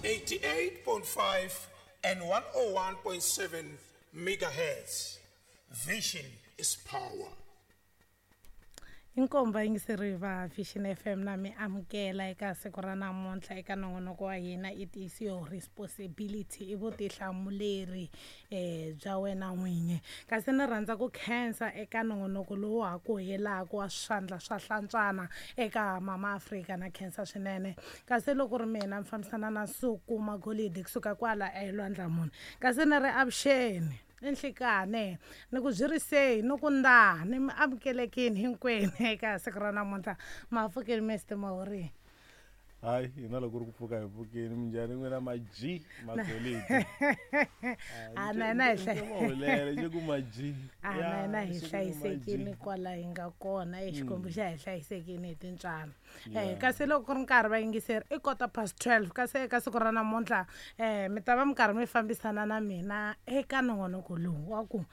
88.5 and 101.7 megahertz. Vision is power. Inkomba yingiseri va Vision FM na mi amukela eka siku ra namuntlha eka nongonoko wa hina it is your responsibility i vutihlamuleri bya wena n'winyi. Kasi ni rhandza ku khensa eka nongonoko lowu ha ku helaka wa swandla swa hlantswana eka Mama Afrika na khensa swinene. Kasi loko ri mina mi fambisana na Nsuku Magolidi kusuka kwala eLwandlamuni. Kasi ni ri avuxeni enhlikane ni ku byirisei ni ku nda ni mi amukelekini hinkwenu eka siku ra namuntlha. Mapfukeni Mr Mahori. Hayi, hina loko ri ku pfuka hi pfukeni. Minjhani n'wina ma-G Magolidi? A na hina hi hlaya nje ku ma-G. A na hina hi hlayisekini kwala hi nga kona, Xikwembu xa hi hlayisekini hi tintswalo. Kasi loko ku ri nkarhi va yingiseri i 12:15, kasi eka siku ra namuntlha mi ta va mi karhi mi fambisana na mina eka nongonoko lowu wa ku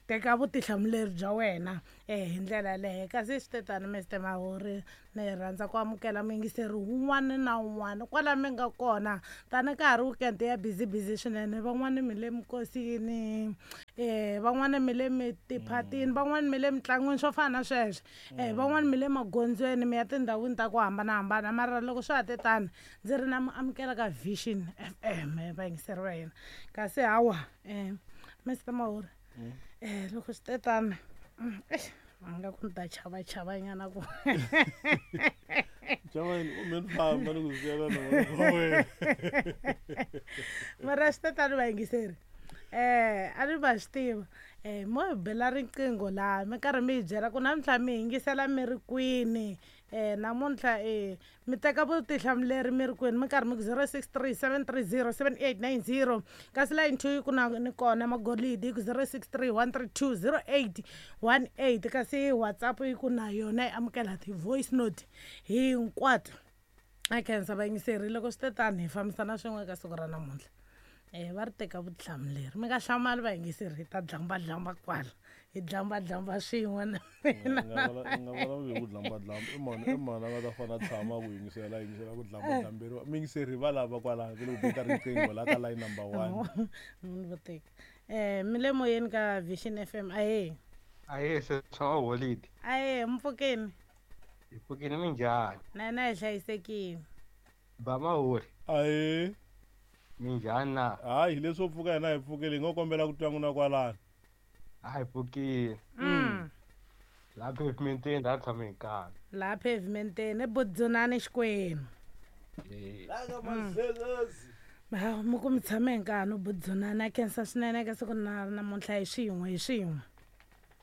teka vutihlamuleri bya wena hi ndlela yaleyo. Kasi swi te tani Mr Mahori, ni rhandza ku amukela muyingiseri wun'wana na wun'wana kwala mi nga kona. Tani ka ha ri weekend ya busy busy swinene, van'wani mi le minkosini, van'wani mi le mitiphatini, van'wani mi le mitlangwini swo fana na sweswo, van'wani mi le magondzweni mi ya tindhawini ta ku hambanahambana. Mara loko swa ha te tani ndzi ri na mi amukela ka Vision FM vayingiseri va hina. Kasi hawa Mr Mahori, loko swi te tani a nga ku ni ta chavachavanyana ku chavani u me ni famba ni ku siyela na wena. Mara swi te tani vayingiseri, a ni va swi tiva mo hi bela riqingho laha mi karhi mi hi byela ku namuntlha mi yingisela mi ri kwini, namuntlha mi teka vutihlamuleri mi ri kwini, mi karhi mi ku 063 730 7890. Kasi line 2 yi ku na ni kona Magolidi yi ku 063 132 0818. Kasi WhatsApp yi ku na yona yi amukela ti-voice note hinkwato. A khensa vayingiseri, loko swi te tani hi fambisana swin'we eka siku ra namuntlha. Va ri teka vutihlamuleri, mi nga hlamali vayingiseri, hi ta dlambadlamba kwala, hi dlambadlamba swin'we na mina. Nga vulavuli hi ku dlambadlamba, i mani i mani a nga ta fana tshama ku yingisela yingisela ku dlambadlamberiwa. Muyingiseri va lava kwala ku le ku beta riqingho la ka line number 1. Munhu vo teka. Mi le moyeni ka Vision FM. Ahee. Ahee, se swa Holidi. Ahee, mpfukeni. Hi pfukini, minjhani? Na hina hi hlayisekile. Ba Mahori. Ahee. Minjhani na? Hayi, leswo pfuka hina hi pfukile, hi ngo kombela ku twa n'wina kwalano. A hi pfukile. Laha pavementeni laha tshame hi nkarhi. Laha pavementeni eBudzunani Xikwembu. La ka Mazekazi. Ha, mi ku mi tshame hi nkarhi Budzunani. A khensa swinene eka siku na namuntlha hi swin'we hi swin'we.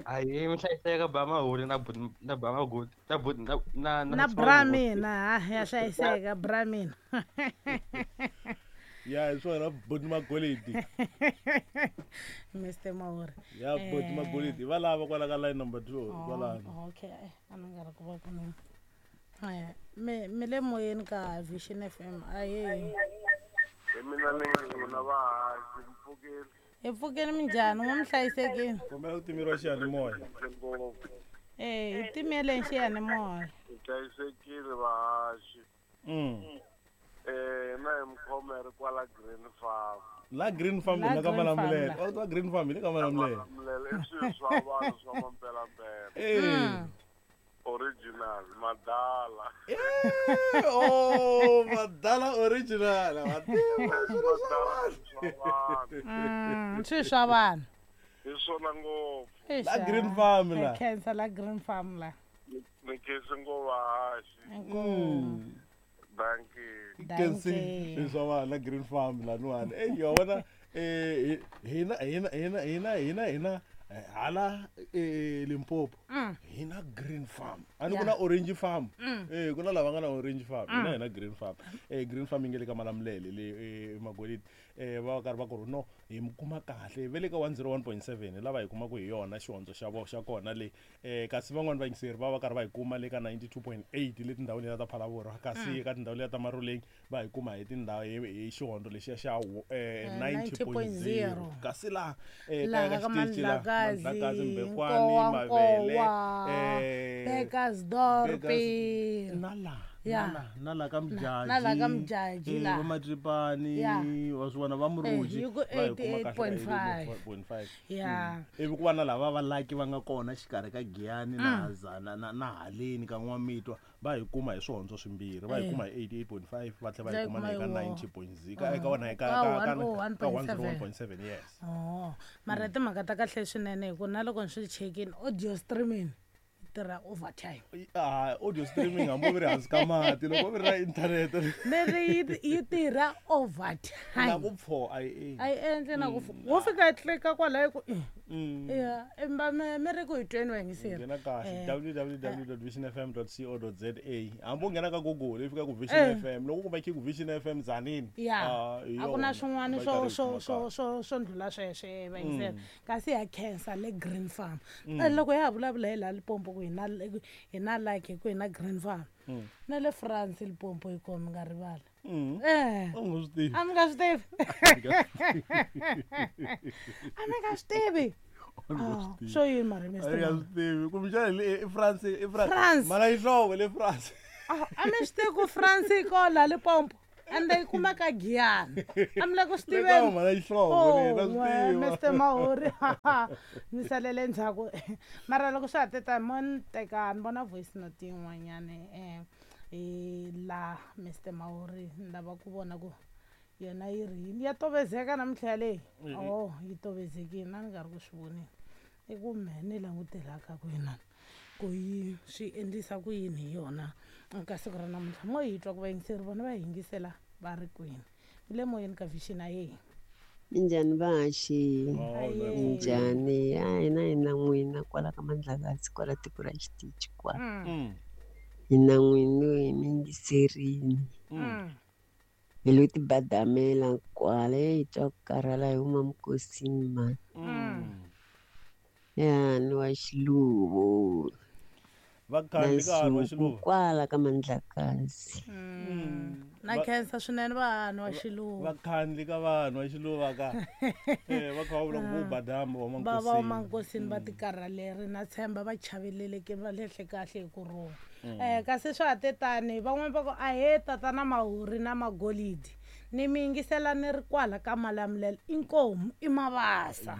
Ahee, mi hlayiseka Ba Mahori na na Ba Magoli na na na bra mina, ha ya hlayiseka bra mina. Ya hi swona Buti Magolidi. Mr Mahori. Ya Buti Magolidi va lava kwala ka line number 2 kwalano. Okay, a ni nga ri ku va ku ni. Mi le moyeni ka Vision FM. Ahee. Hi mina ni n'wina vahaxi, mpfukeni. Hi pfukeni, minjhani? N'we mi hlayisekile? Kombela ku timeriwa xiyanimoya. Hi timeleni xiyanimoya. Hi hlayisekile vahaxi. Na hi Mkhomere kwala Green Farm. La Green Farm La la ka Green Malamulele. Farm la. La Green Farm le ka Malamulele. Malamulele i swilo swa vanhu swa mampelampela. Original, madala. Oh, madala original. Mativa swilo swa vanhu. Swilo swa vanhu. Hi swona ngopfu. La Green Farm la. Khensa la Green Farm la. Ni khensi ngo vahaxi. Dankie. Khensi swilo swa vanhu la Green Farm la niwani. Ya vona, hina hina hina hina hina hina hala Limpopo. Hina Green Farm. Ani kuna Orange Farm. Kuna lava nga na Orange Farm. Hina hina Green Farm. Green Farm yi nga le ka Malamulele le Magolidi. Va karhi va ku ri no hi mi kuma kahle ve le ka 101.7 lava hi kumaka hi yona xihondzo xa vo xa kona le. Kasi van'wani vayingiseri va va karhi va hi kuma le ka 92.8 le tindhawini letiya ta Phalaborwa, kasi ka tindhawu letiya ta Maruleng va hi kuma hi tindhawu hi xihondzo lexiya xa 90.0. Kasi laha Laha kaya ka ka xitichi laha, Mandlakazi, Mandlakazi, Mbekwane, Nkowankowa, Mavele, Bekkersdorp. Bekkersdorp, na laha. Ya. Na la ka Mujaji. Na la ka Mujaji la. Va Matripani, wa swi vona, va Muruji, Yi ku va hi kuma kahle ka 88.5. 88.5. Ya. Ivi ku va na lava va laki va nga kona xikarhi ka Giyani na na haleni ka N'wamitwa, va hi kuma hi swihondzo swimbirhi, va hi kuma hi 88.5, va tlhela va hi kuma na eka 90.0, ka wona eka Ka ka 101.7. 101.7, yes. Oh, mara timhaka ta kahle swinene hi ku na loko ni swi chekini, audio streaming yi tirha overtime. Ah, audio streaming hambi u ri hansi ka mati, loko u ri na internet. Ni ri yi tirha overtime. Na ku pfo a yi A yi endli na ku wo fika yi tlika kwalaho ku ya emba mi ri ku hi tweni vayingiseri. Nghena kahle www.visionfm.co.za, hambi u nghena ka Google i fika ku Vision FM, loko u kuma ku Vision FM Tzaneen. Ya. Ah, hi A ku na yona. swin'wana Va swo karhi hi swo kuma swo kahle. swo ndlula sweswo vayingiseri, kasi ya khensa le Green Farm. Loko ya ha vulavula hi laha Limpopo ku hi na like ku hi na Green Farm, na le France Limpopo yi kona, mi nga rivala. U nga swi tivi. A mi nga swi tivi, a mi nga swi tivi. U nga swi Ah, tivi. swo yini mara A Mr. ni nga swi tivi kumbexana hi le i France, i France. France. Mara yihlovo le France. Ah, a mi swi tivi ku France yi kona laha Limpopo, ende yi kumeka Giyani? A mi le ku swi Le ka tiveni? mhana yihlovo le na swi Oh, tiva. Mr Mahuri, mi salele ndzhaku. Mara loko swa ha te tani, mo ni teka ni vona voice note yin'wanyani hi la Mr Mahuri, ni lava ku vona ku yona yi ri yini. Ya tovezeka namuntlha yaleyi. Oh, yi tovezekile, na ni nga ri ku swi voneni. I ku mehe ni langutelaka ku inani ku yi swi endlisa ku yini hi yona ka siku ra namuntlha. Mo hi twa ku vayingiseri vona va yingisela va ri kwini. Mi le moyeni ka Vision, ayeyi. Minjhani vahaxi? Aye. Minjhani? A hina hi na n'wina kwala ka Mandlakazi, kwala tiko ra xitichi kwala. Hi na n'wina, hi mi yingiserini. Hi lo tibadamela kwala, hi twa ku karhala, hi huma mikosini mani. Ya ni wa Xiluvo Va na khandli ka vanhu va Nsuku Xiluva. kwala ka Mandlakazi. Na khensa swinene vanhu wa Xiluva. Va khandli ka vanhu va Xiluva ka va kha va vula ku vo badama va Va va mankosini. mankosini va tikarhaleri, na tshemba va chaveleleke, va lehle kahle hi ku rhula. Kasi swa ha te tani, van'wani va ku ahe tatana Mahuri na Magolidi, ni mi yingisela ni ri kwala ka Malamulele, inkomu i Mavasa.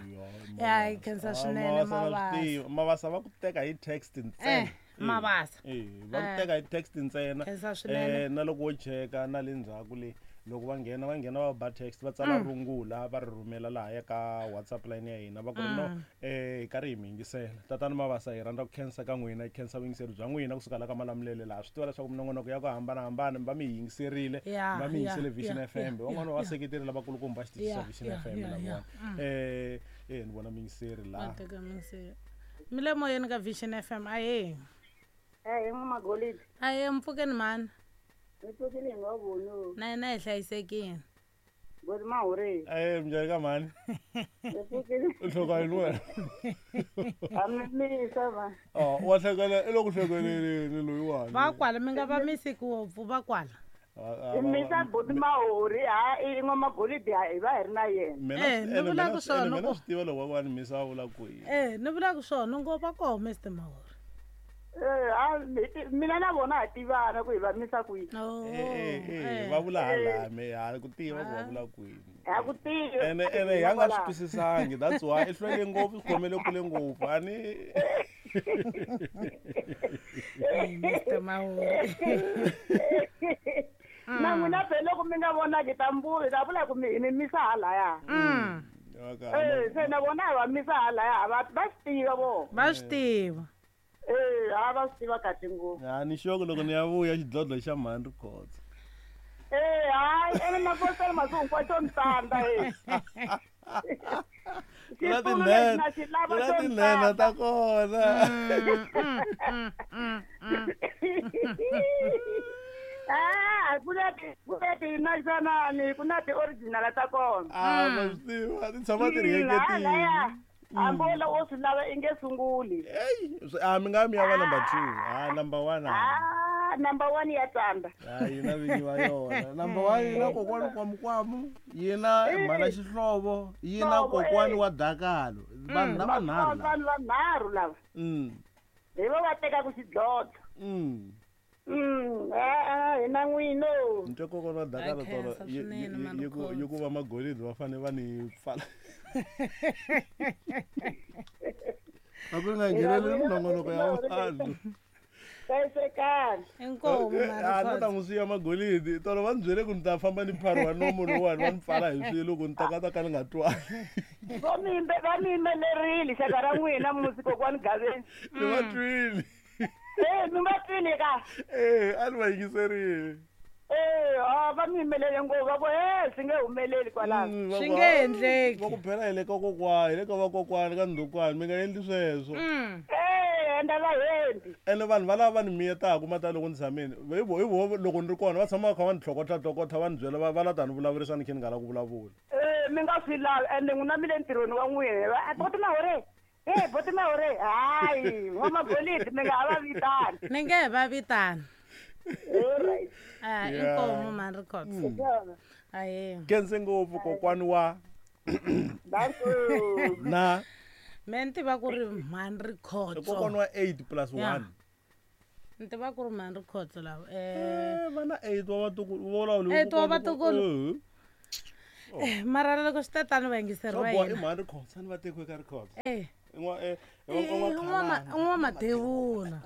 Ya hi khensa swinene Mavasa. Mavasa va ku teka hi text ntsena. Mavasa. Va ku teka hi text ntsena. Khensa swinene. Na loko wo cheka na le ndzhaku le, loko va nghena, va nghena va ba text, va tsala rungula, va ri rhumela lahaya ka WhatsApp line ya hina, va ku ri no hi karhi hi mi yingisela. Tatana Mavasa, hi rhandza ku khensa ka n'wina, hi khensa vuyingiseri bya n'wina kusuka la ka Malamulele laha. Swi tiva leswaku minongonoko ya ku hambanahambana mi va mi yingiserile, va mi yingisele Vision FM. Van'wana va seketeri lavakulukumba va xitichi xa Vision FM lavawani. Ni vona muyingiseri Va laha. teka muyingiseri. Mi le moyeni ka Vision FM, ahe. Eh, N'wa-Magolidi. Ahe, mpfukeni mhani. Mi pfukile hi nga voni. Na hina hi hlayisekile. Ngoti Mahuri. Minjhani ka mhani? Mi pfukile. U hloka yini wena? A mi misa va. Oh, wa hlekela, i le ku hlekeleleni loyiwani. Va kwala, mi nga va misi ngopfu, va kwala. Mi misa buti Mahuri, ha i N'wa-Magolidi hi va hi ri na yena. Mina Eh, ni vula ku swona mina ku- swi tiva loko va ni misa va vula ku yini. Ni vula ku swona ngo va koho Mr Mahuri. Eh, ha mina na vona ha tivana ku hi va misa kwihi. Oh, Va vula hala me ha ku tiva ku va vula kwini. Ha ku tiva. Ene ya nga swi twisisangi, that's why i hlwele ngopfu, swi khomele kule ngopfu. A ni Mr Mahuri. Na n'wina phela loko mi nga vonaki ta mbuvi, ta vula ku mi hi mi misa halaya. Se na vona hi va misa halaya, va swi tiva vona. Va swi tiva. Ha va swi tiva kahle ngopfu. A ni sure ku loko ni ya vuya xidlodlo xa mhani ri khotsa. Hayi, ene mapostela masiku hinkwawo xo ni tsandza . Ku na Xitulu lexi tinene, na xi lava ku na xo ni tinene tsandza. ta kona. Ah, ku na ti naxanani, ku na ti-original ta kona. Ah, ma swi tiva, ti tshama ti ri Halaya, hambi wo lava u swi lava i nge sunguli. A mi nga mi ya va number 2. Ah, number 1. Ah, number 1 ya tsandza. Ah, yi na vinyi va yona. Number 1 yi na kokwani Kwamukwamu, yi na mhana Xihlovo, yi na Xihlovo, kokwani wa Dakalo. Vanhu lava nharhu lava. Vanhu vanharhu lava. Hi vo va tekaka xidlodlo. Hi na n'wino. Ni twa kokwana wa Dakala tolo yi ku va magolidi va fanele va ni pfala. A ku nga ngheneleli minongonoko ya vanhu. Hlayisekani. Inkomu A ni ta n'wi siya magolidi. Tolo va ni byele ku ni ta famba ni phariwa nomu lowuwani va ni pfala hi swilo ku ni ta ka ta ka ni nga twali. Va mi va mi yimelerile xaka ra n'wina musi kokwani Gaveni. Ni va twile. Mi va twile ka? A ni va yingiserile. Va mi yimelele ngopfu va ku swi nge humeleli kwalano. Swi nge endleki. Va ku phela hi le ka kokwani, hi le ka vakokwani ka ndhukwani, mi nga endli sweswo. Ende va hembi. Ene vanhu valava va ni miyetaka mata loko ni tshamile, hi vo hi vo loko ni ri kona va tshama va kha va ni tlhokotla tlhokotla va ni byela va va la ta ni vulavurisa ni khe ni nga lavi ku vulavula. Mi nga swi lavi ende n'wina mi le ntirhweni wa n'wina. Boti Mahore, boti Mahore, hayi n'wamagolidi mi nga ha va vitani. Ni nge he va vitani. Alright. Inkomu man records. Ahe. Khense ngopfu kokwani wa na Me ni tiva ku ri mhani Rikhotso. Kokwani wa 8 plus 1. Ni tiva ku ri mhani Rikhotso lava. Va na 8 wa vatukulu, vo vulavula 8 wa vatukulu. Mara loko swi ta tano va yingiseri va hina. I mhani Rikhotso, ni va tekiwe ka Rikhotso. N'wamadevula.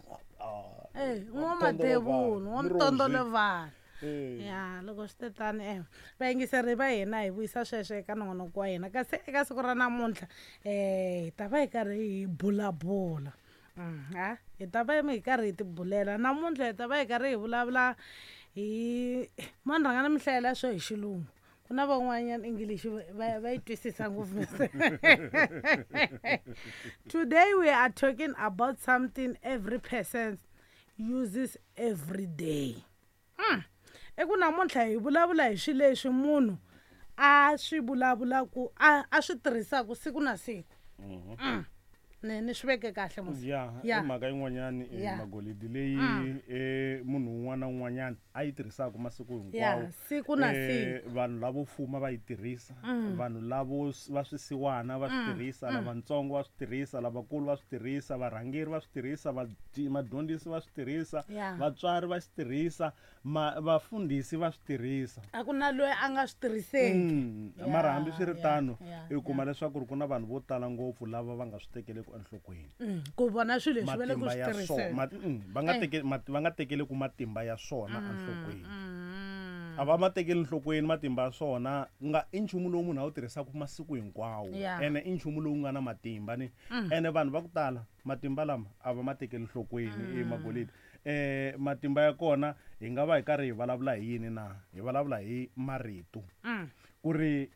N'wamadevula, n'wamtondolevana. Ya loko swi te tani vayingiseri va hina hi vuyisa sweswo eka nongonoko wa hina kasi eka siku ra namuntlha hi ta va hi karhi hi bulabula. Hi ta va hi karhi hi tibulela namuntlha hi ta va hi karhi hi vulavula hi mo ni rhanga ni mi hlayela swo hi xilungu. Ku na van'wanyana English va yi twisisa ngopfu. Today we are talking about something every person uses every day. Eku namuntlha hi vulavula hi swilo leswi munhu a swi vulavulaku a swi tirhisaka siku na siku. Ni swi veke kahle musi. Ya, i mhaka yin'wanyani magolidi leyi munhu un'wana na un'wanyana a yi tirhisaka masiku hinkwawo. Siku na siku. Vanhu lavo fuma va yi tirhisa, vanhu lavo va swisiwana va swi tirhisa, lavatsongo va swi tirhisa, lavakulu va swi tirhisa, varhangeri va swi tirhisa, vadyondzisi va swi tirhisa, vatswari va swi tirhisa, vafundhisi va swi tirhisa. A ku na loyi a nga swi tirhiseki. Mara hambi swi ri tano, i kuma leswaku ku na vanhu vo tala ngopfu lava va nga swi tekeleku enhlokweni. Ku vona swilo leswi va le ku swi tirhiseni. Va nga tekeleku matimba ya swona enhlokweni. A va ma tekeli enhlokweni matimba ya swona, nga i nchumu lowu munhu a wu tirhisaka masiku hinkwawo. Ene i nchumu lowu nga na matimba ni. Ene vanhu va ku tala matimba lama a va ma tekeli enhlokweni magolidi. Matimba ya kona hi nga va hi karhi hi vulavula hi yini na? Hi vulavula hi marito. Ku ri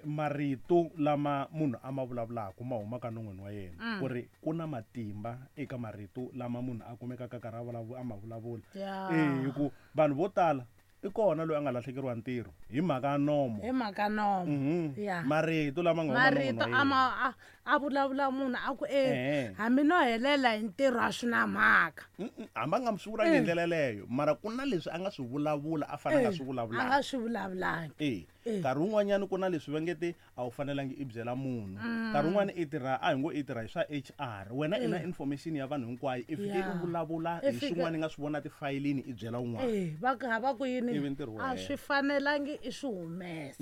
marito lama munhu a ma vulavulaka ma humaka non'wini wa yena. Ku ri ku na matimba eka marito lama munhu a kumekaka karhi a ma vulavula. Hi ku vanhu vo tala i kona loyi a nga lahlekeriwa ntirho hi mhaka ya nomo. Hi mhaka nomo. Marito lama nga huma non'wini wa yena. Marito a vulavula munhu a ku hambi no helela hi ntirho a swi na mhaka. Hambi a nga swi vulangi hi ndlela yeleyo, mara ku na leswi a nga swi vulavula a fanele a nga swi vulavulangi. A nga swi vulavulangi. Nkarhi wun'wanyana ku na leswi va nge te a wu fanelangi i byela munhu. Nkarhi wun'wana i tirha a hi ngo i tirha hi swa HR, wena i na information ya vanhu hinkwayo, i fike i vulavula hi swin'wana i nga swi vona tifayilini i byela un'wana. Va ku hava ku yini a swi fanelangi i swi humesa.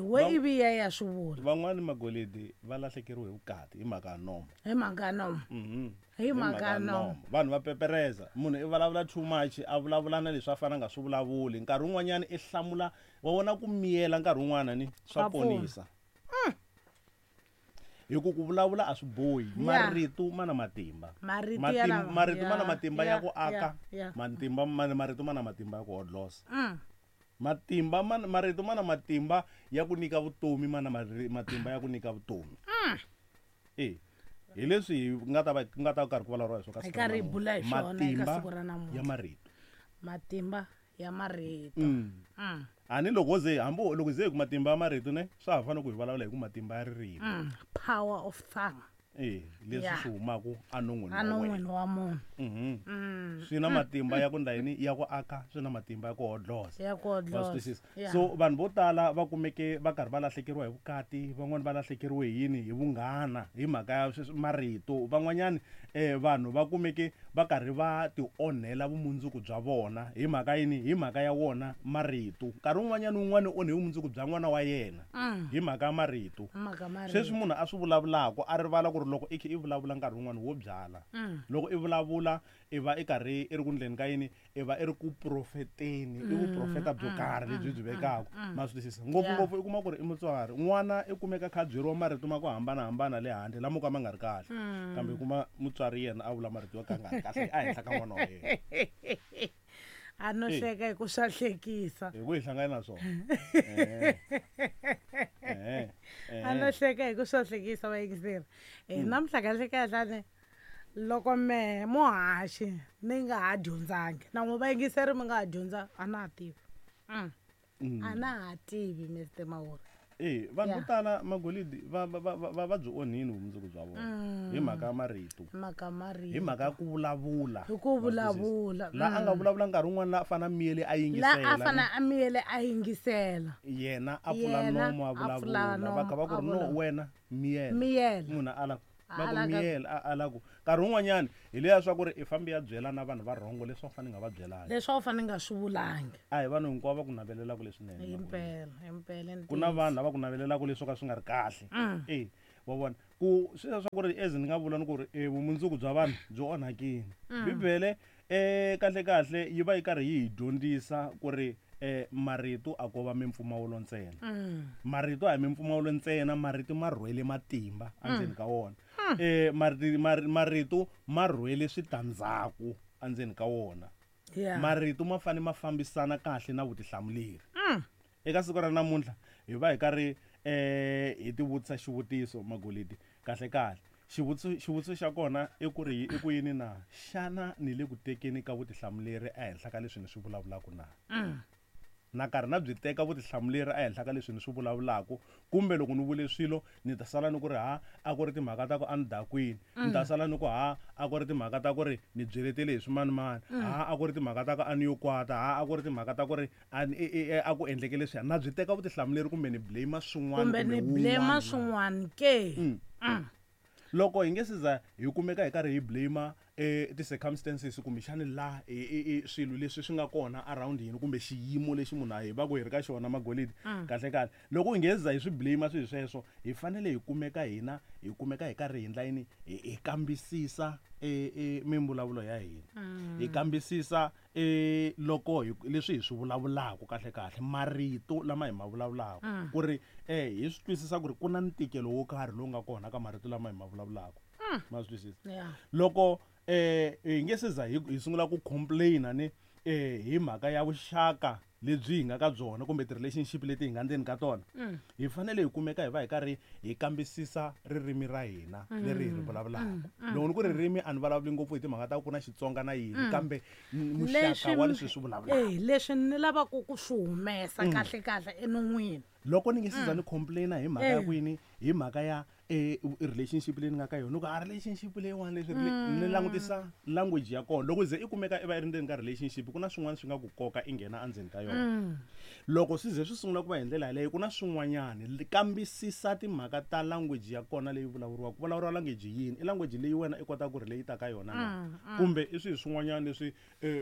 We ivi ya ya swi vula. Van'wani magolidi va lahlekeriwe hi vukati hi mhaka ya nomo. Hi mhaka ya nomo. Hi mhaka ya nomo. Vanhu va pepereza, munhu i vulavula too much, a vulavula na leswi a fanele a nga swi vulavuli. Nkarhi wun'wanyana i hlamula, wa vona ku miyela nkarhi wun'wana ni swa ponisa. Hi ku ku vulavula a swi bohi, marito ma na matimba. Marito ma na matimba ya ku aka, matimba marito ma na matimba ya ku hodlosa. Matimba marito ma na matimba ya ku nyika vutomi, ma na matimba ya ku nyika vutomi. Hi leswi hi nga ta va nga ta karhi ku vulavuriwa hi swona ka siku ra bula hi swona eka siku ra namuntlha. Ya marito. Matimba ya marito. Ani loko ze hambi loko ze hi ku matimba ya marito ne swa ha fanele ku hi vulavula hi ku matimba ya ririmi. Power of tongue. Leswi swi humaka enon'wini wa munhu. Swi na matimba ya ku ndla yini? Ya ku aka, swi na matimba ya ku hodlosa. Ya ku hodlosa. So vanhu vo tala va kumeke va karhi va lahlekeriwa hi vukati, van'wani va lahlekeriwe hi yini? Hi vunghana, hi mhaka ya marito. Van'wanyani vanhu va kumeke va karhi va ti onhela vumundzuku bya vona hi mhaka yini? Hi mhaka ya wona marito. Nkarhi wun'wanyana wun'wana u onhe vumundzuku bya n'wana wa yena hi mhaka ya marito. Sweswi munhu a swi vulavulaka a rivala ku ri loko i kha i vulavula nkarhi wun'wana wo byala. Loko i vulavula i va i karhi i ri ku ndleni ka yini? I va i ri ku profeteni, i vuprofeta byo karhi lebyi byi vekaka. Ma swi twisisa? Ngopfungopfu i kuma ku ri i mutswari, n'wana i kumeka kha a byeriwa marito ma ku hambanahambana le handle lamo ka ma nga ri kahle, kambe i kuma mutswari yena a vula marito yo ka nga ri kahle ehenhla ka n'wana wa yena. A no hleka hi ku swa hlekisa. Hi ku hi hlangana na swona. A no hleka hi ku swa hlekisa vayingiseri. Namuntlha kahle kahle loko mehe muhaxi ni nga ha dyondzangi na n'wi vayingiseri mi nga ha dyondza a na ha tivi. A na ha tivi Mr Mawuri. Vanhu vo tala magolidi va va byi onhini vumundzuku bya vona hi mhaka ya marito. Mhaka marito. Hi mhaka ya ku vulavula. Hi ku vulavula. La a nga vulavula nkarhi wun'wana la a fana miyele a yingisela. La a fana a miyele a yingisela. Yena a pfula nomo a vulavula. Va kha va ku ri no wena miyela. Miyela. Munhu a ala va ku miyela a ala ku nkarhi wun'wanyana hi leya swa ku ri i fambi ya byela na vanhu va rhongo leswi a wu fanele nga va byelangi. Leswi a wu fanele nga swi vulangi. A hi vanhu hinkwavo va ku navelelaka leswinene. Himpela, himpela. Ku na vanhu lava ku navelelaka leswo ka swi nga ri kahle. Wa vona ku sweswiya swa ku ri as ni nga vula ni ku ri vumundzuku bya vanhu byi onhakile. Bibele kahle kahle yi va yi karhi yi hi dyondzisa ku ri marito a ko va mimpfumawulo ntsena. Marito a hi mimpfumawulo ntsena, marito ma rhwele matimba endzeni ka wona. Marito ma rhwele switandzhaku endzeni ka wona. Marito ma fanele ma fambisana kahle na vutihlamuleri. Eka siku ra namuntlha hi va hi karhi hi tivutisa xivutiso magolidi kahle kahle. Xivutiso xa kona i ku ri i ku yini na? Xana ni le ku tekeni ka vutihlamuleri ehenhla ka leswi ni swi vulavulaka na? Na karhi na byi teka vutihlamuleri ehenhla ka leswi ni swi vulavulaka, kumbe loko ni vule swilo ni ta sala ni ku ri ha a ku ri timhaka ta ku a ni dakwini, ni ta sala ni ku ha a ku ri timhaka ta ku ri ni byeletele hi swimanimani, ha a ku ri timhaka ta ku a ni yo kwata, ha a ku ri timhaka ta ku ri a ku endleke leswiya. Na byi teka vutihlamuleri kumbe ni blame swin'wana kumbe ni blame swin'wana ke? Loko hi nge se za hi kumeka hi karhi hi blame ti-circumstances kumbexani la swilo leswi swi nga kona around hina kumbe xiyimo lexi munhu a hi va ku hi ri ka xona magolidi kahle kahle loko hi nge za hi swi blame swilo sweswo hi fanele hi kumeka hina hi kumeka hi karhi hi ndla yini hi kambisisa mimbulavulo ya hina hi kambisisa loko leswi hi swi vulavulaka kahle kahle marito lama hi ma vulavulaka ku ri hi swi twisisa ku ri ku na ntikelo wo karhi lowu nga kona ka marito lama hi ma vulavulaka ma swi twisisa loko hi nge se za hi sungula ku complain-a ni hi mhaka ya vuxaka lebyi hi nga ka byona kumbe ti-relationship leti hi nga ndzeni ka tona hi fanele hi kumeka hi va hi karhi hi kambisisa ririmi ra hina leri hi ri vulavulaka. Loko ni ku ririmi a ni vulavuli ngopfu hi timhaka ta ku na Xitsonga na yini kambe muxaka wa leswi swi vulavulaka. Leswi ni lavaka ku swi humesa kahle kahle enon'wini. Loko ni nge se za ni complain-a hi mhaka ya ku yini hi mhaka ya relationship leyi ni nga ka yona ku a relationship leyiwani leswi ni langutisa language ya kona loko ze i kumeka i va i ri ndzeni ka relationship ku na swin'wana swi nga ku koka i nghena endzeni ka yona loko swi ze swi sungula ku va hi ndlela yaleyo ku na swin'wanyana kambisisa timhaka ta language ya kona leyi vulavuriwaka ku vulavuriwa language yini i language leyi wena i kotaka ku relate ka yona na kumbe i swilo swin'wanyana leswi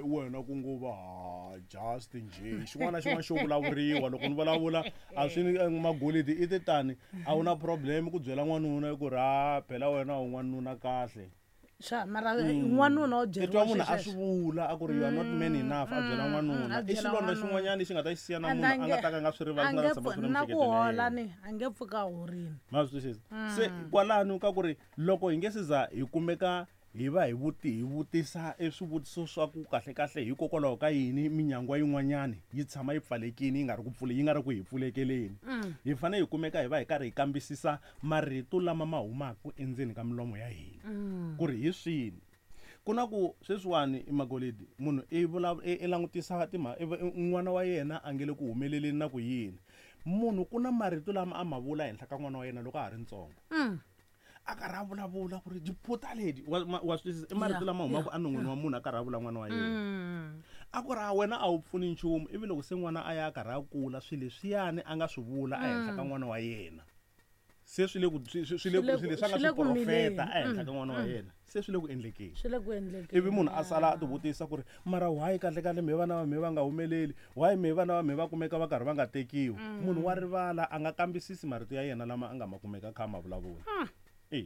wena ku ngo va just nje xin'wana na xin'wana xo vulavuriwa loko ni vulavula a swi ni magolidi i ti tani a wu na problem ku byela n'wanuna ku ri ha phela wena u n'wanuna kahle swa mara n'wanuna u byeriwa i twa munhu a swi vula a ku ri you are not man enough a byela n'wanuna i xilondza xin'wanyana lexi nga ta xi siya na munhu a nga ta ka nga swi rivali nga ta tshama swi ri na ku hola ni a nge pfuka horini ma swi twisisa se kwalano ka ku ri loko hi nge se za hi kumeka hi va hi vuti hi vutisa eswivutiso swa ku kahle kahle hikokwalaho ka yini minyangwa yin'wanyana yi tshama yi pfalekile yi nga ri ku pfule yi nga ri ku hi pfulekeleni hi fanele hi kumeka hi va hi karhi hi kambisisa marito lama ma humaka endzeni ka milomo ya hina ku ri hi swini ku na ku sweswiwani i magolidi munhu i vula i langutisa timhaka n'wana wa yena a nge le ku humeleleni na ku yini munhu ku na marito lama a ma vula henhla ka n'wana wa yena loko a ha ri ntsongo. A karhi a vulavula ku ri diphuta ledi, wa swi twisisa? I marito lama humaka enon'wini wa munhu a karhi a vula n'wana wa yena, a ku ri a wena a wu pfuni nchumu. Ivi loko se n'wana a ya a karhi a kula, swilo leswiyani a nga swi vula ehenhla ka n'wana wa yena, se swi le ku swi le ku swilo leswi a nga swi profeta ehenhla ka n'wana wa yena, se swi le ku endlekeni. Swi le ku endlekeni. Ivi munhu a sala a tivutisa ku ri, mara why kahle kahle me vana va me va nga humeleli? Why me vana va me va kumeka va karhi va nga tekiwi? Munhu wa rivala, a nga kambisisi marito ya yena lama a nga ma kumeka kha a ma vulavula. E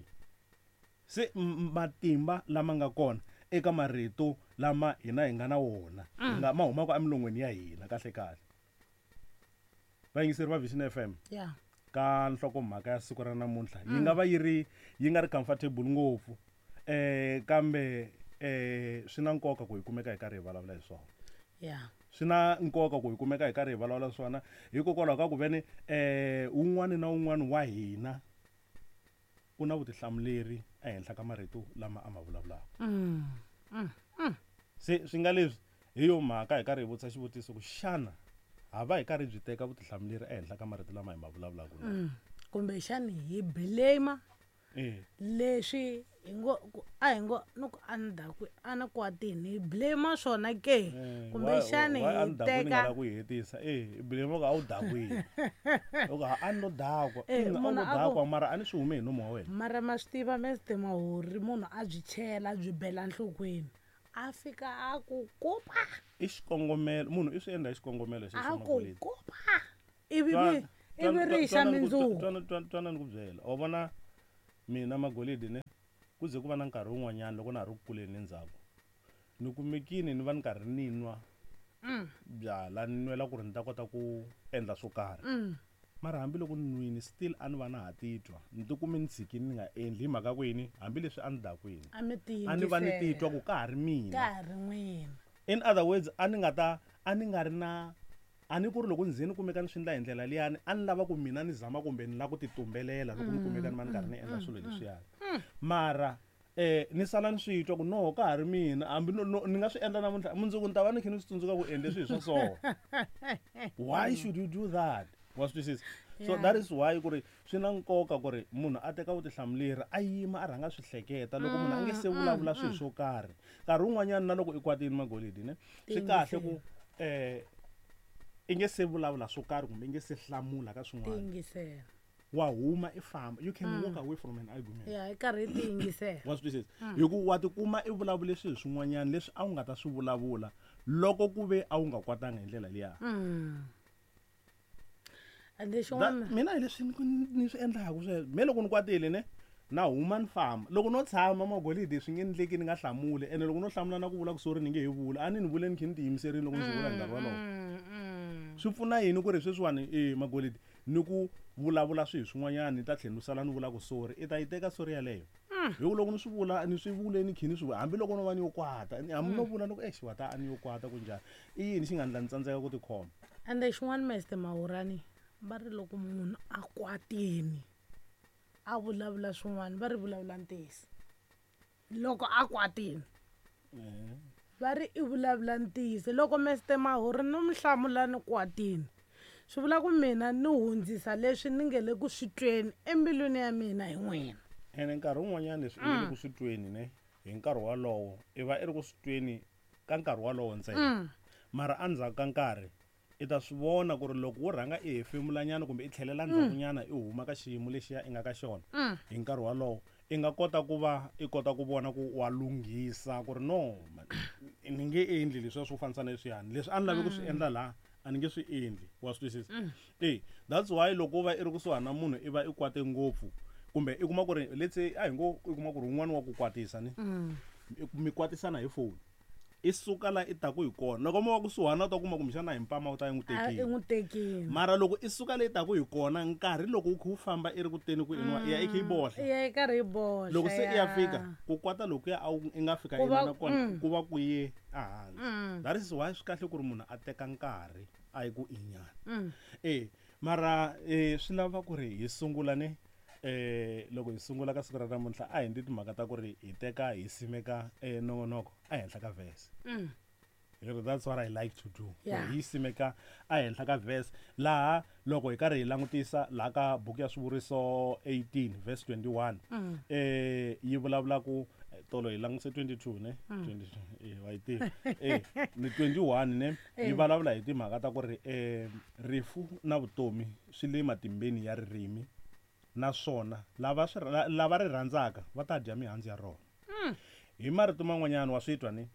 se matimba lama nga kona eka marito lama hina hi nga na wona, hi nga ma humaka emilon'weni ya hina kahle kahle. Vayingiseri va Vision FM, ka nhlokomhaka ya siku ra namuntlha yi nga va yi ri yi nga ri comfortable ngopfu, kambe swi na nkoka ku hi kumeka hi karhi hi vulavula hi swona. Swi na nkoka ku hi kumeka hi karhi hi vulavula swona, hikokwalaho ka ku veni un'wana na un'wana wa hina u na vutihlamuleri ehenhla ka marito lama a ma vulavulaka. Se swi nga leswi hi yo mhaka hi karhi hi vutisa xivutiso ku xana ha va hi karhi byi teka vutihlamuleri ehenhla ka marito lama hi ma vulavulaka na? Kumbexani hi blame leswi hi ngo a hi ngo ni ku a ni dakwi, a ni kwatini, hi blame swona ke? Kumbexani hi teka ku hetisa hi blame ku a wu dakwini, loko a ni lo dakwa, a wu lo dakwa, mara a ni swi hume hi nomu wa wena. Mara ma swi tiva meste Mahori, munhu a byi chela, a byi bela nhlokweni, a fika a ku kupa. I xikongomelo, munhu i swi endla hi xikongomelo xexo. A ku kupa ivi ivi ri xa mindzuku. Twana ni ku byela, wa vona mina Magolidi ne ku ze ku va na nkarhi wun'wanyana loko na ha ri ku kuleni endzhaku, ni kumekini ni va ni karhi ni nwa byala, ni nwela ku ri ni ta kota ku endla swo karhi. Mara hambiloko ni nwini, still a ni va na ha titwa ni tikume ni tshikini ni nga endli hi mhaka ku yini, hambileswi a ni dakwini, a ni va ni titwa ku ka ha ri mina, ka ha ri n'wina. In other words, a ni nga ta a ni nga ri na a ni ku ri loko ni ze ni kumeka ni swi endla hi ndlela liyani, a ni lava ku mina ni zama kumbe ni lava ku titumbelela loko ni kumeka ni va ni karhi ni endla swilo leswiyani. Mara ni sala ni swi twa ku no, ka ha ri mina, hambi ni nga swi endla namuntlha, mundzuku ni ta va ni kha ni swi tsundzuka ku endle swilo swa so. Why should you do that? Wa swi twisisa? So that is why ku ri swi na nkoka ku ri munhu a teka vutihlamuleri, a yima, a rhanga swi hleketa loko munhu a nge se vulavula swilo swo karhi. Nkarhi wun'wanyana na loko i kwatini, Magolidi ne, swi kahle ku i nge se vulavula swo karhi kumbe i nge se hlamula ka swin'wana, wa huma i famba. You can walk away from an argument. Ya, i karhi i tiyingisela. Wa swi twisisa? Hi ku wa tikuma i vulavule swilo swin'wanyana leswi a wu nga ta swi vulavula loko ku ve a wu nga kwatanga hi ndlela liya. Mina hi leswi ni swi endlaka sweswo. Me loko ni kwatile ne, na huma ni famba. Loko no tshama, Magolidi, swi nge endleki ni nga hlamuli. Ene loko no hlamula na ku vula ku sorry, ni nge he vula. A ni ni vule ni khe ni tiyimiserile loko ni swi vula hi nkarhi wolowo. Swi pfuna yini ku ri sweswiwani, Magolidi, ni ku vulavula swilo swin'wanyana, ni ta tlhela ni sala ni vula ku sorry? I ta yi teka sorry yaleyo? Hi ku loko ni swi vula, ni swi vule ni khe ni swi vula, hambiloko no va ni yo kwata, hambi no vula ni ku xiwata a ni yo kwata ku njhani, i yini xi nga ndla ni tsandzeka ku tikhoma? Ende xin'wana, Mester Mahorani, va ri loko munhu a kwatini a vulavula swin'wana, va ri vulavula ntiyiso. Loko a kwatini va ri i vulavula ntiyiso. Loko Mester Mahori ni mi hlamula ni kwatini, swi vula ku mina ni hundzisa leswi ni nge le ku swi tweni embilwini ya mina hi n'wina. Ene nkarhi wun'wanyana leswi i nge le ku swi tweni ne hi nkarhi wolowo, i va i ri ku swi tweni ka nkarhi wolowo ntsena, mara endzhaku ka nkarhi i ta swi vona ku ri loko wo rhanga i hefemulanyana kumbe i tlhelela ndzhakunyana, i huma ka xiyimo lexiya i nga ka xona hi nkarhi wolowo, i nga kota ku va i kota ku vona ku wa lunghisa ku ri no, ni nge endli leswiya swo fanisa na leswiyani, leswi a ni lavi ku swi endla laha a ni nge swi endli. Wa swi twisisa? That's why loko u va i ri kusuhani na munhu, i va i kwate ngopfu, kumbe i kuma ku ri, let's say, a hi ngo i kuma ku ri un'wana wa ku kwatisa ni, mi kwatisana hi foni, i suka la i taku hi kona, loko mo va kusuhana u ta kuma kumbexana hi mpama u ta yi n'wi tekile. I n'wi tekile. Mara loko i suka leyi taku hi kona, nkarhi loko wu kha wu famba i ri ku teni ku inwa, i ya i kha yi bohla. I ya i karhi yi bohla. Loko se i ya fika ku kwata lokuya a wu i nga fika i na kona, ku va ku ye ehansi. That is why swi kahle ku ri munhu a teka nkarhi a yi ku inyana. Mara swi lava ku ri hi sungula ne, loko hi sungula ka siku ra namuntlha a hi ndzi timhaka ta ku ri hi teka hi simeka nongonoko ehenhla ka verse. Hi ri that's what I like to do. Yeah. Hi simeka ehenhla ka verse laha loko hi karhi hi langutisa laha ka buku ya swivuriso 18 verse 21 yi vulavula ku tolo hi langutise 22 ne 22 wa yi tiva ni 21 ne yi vulavula hi timhaka ta ku ri rifu na vutomi swi le matimbeni ya ririmi naswona lava ri rhandzaka va ta dya mihandzu ya rona. Hi marito man'wanyana wa swi twa ni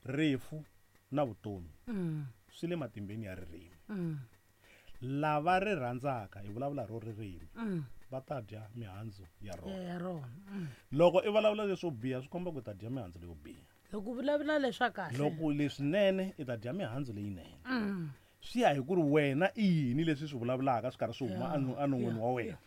rifu na vutomi swi le matimbeni ya ririmi. Lava ri rhandzaka hi vulavula ro ririmi va ta dya mihandzu ya rona. Loko i vulavula leswo biha swi komba ku ta dya mihandzu leyo biha. Loko vulavula leswa kahle, loko leswinene i ta dya mihandzu leyinene. Swi ya hi ku ri wena i yini leswi swi vulavulaka swi karhi swi huma enon'wini wa wena.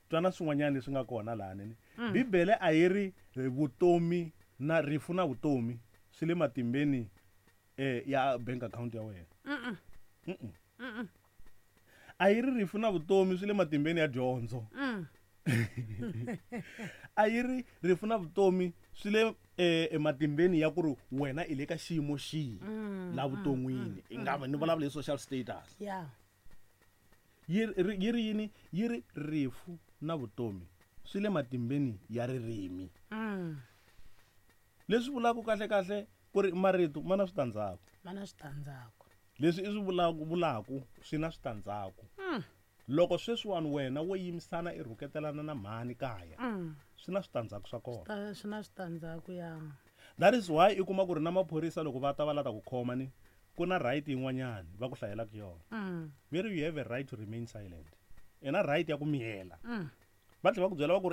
Twana swin'wanyana leswi nga kona laha nene. Bibele a yi ri vutomi na rifu na vutomi swi le matimbeni ya bank account ya wena. A yi ri rifu na vutomi swi le matimbeni ya dyondzo. A yi ri rifu na vutomi swi le ematimbeni ya ku ri wena i le ka xiyimo xihi la vuton'wini. I nga va ni vulavula hi social status. Yi ri yini? Yi ri rifu na vutomi swi le matimbeni ya ririmi. Leswi vulaka kahle kahle ku ri marito ma na switandzhaku. Ma na switandzhaku. Leswi i swi vulaka swi na switandzhaku. Loko sweswiwani wena wo yimisana i rhuketelana na mhani kaya, swi na switandzhaku swa kona. Swi na switandzhaku ya. That is why i kuma ku ri na maphorisa loko va ta va lata ku khoma ni ku na right yin'wanyana va ku hlayelaka yona. Very you have a right to remain silent. I na right ya ku miyela. Va tlhela va ku byela va ku ri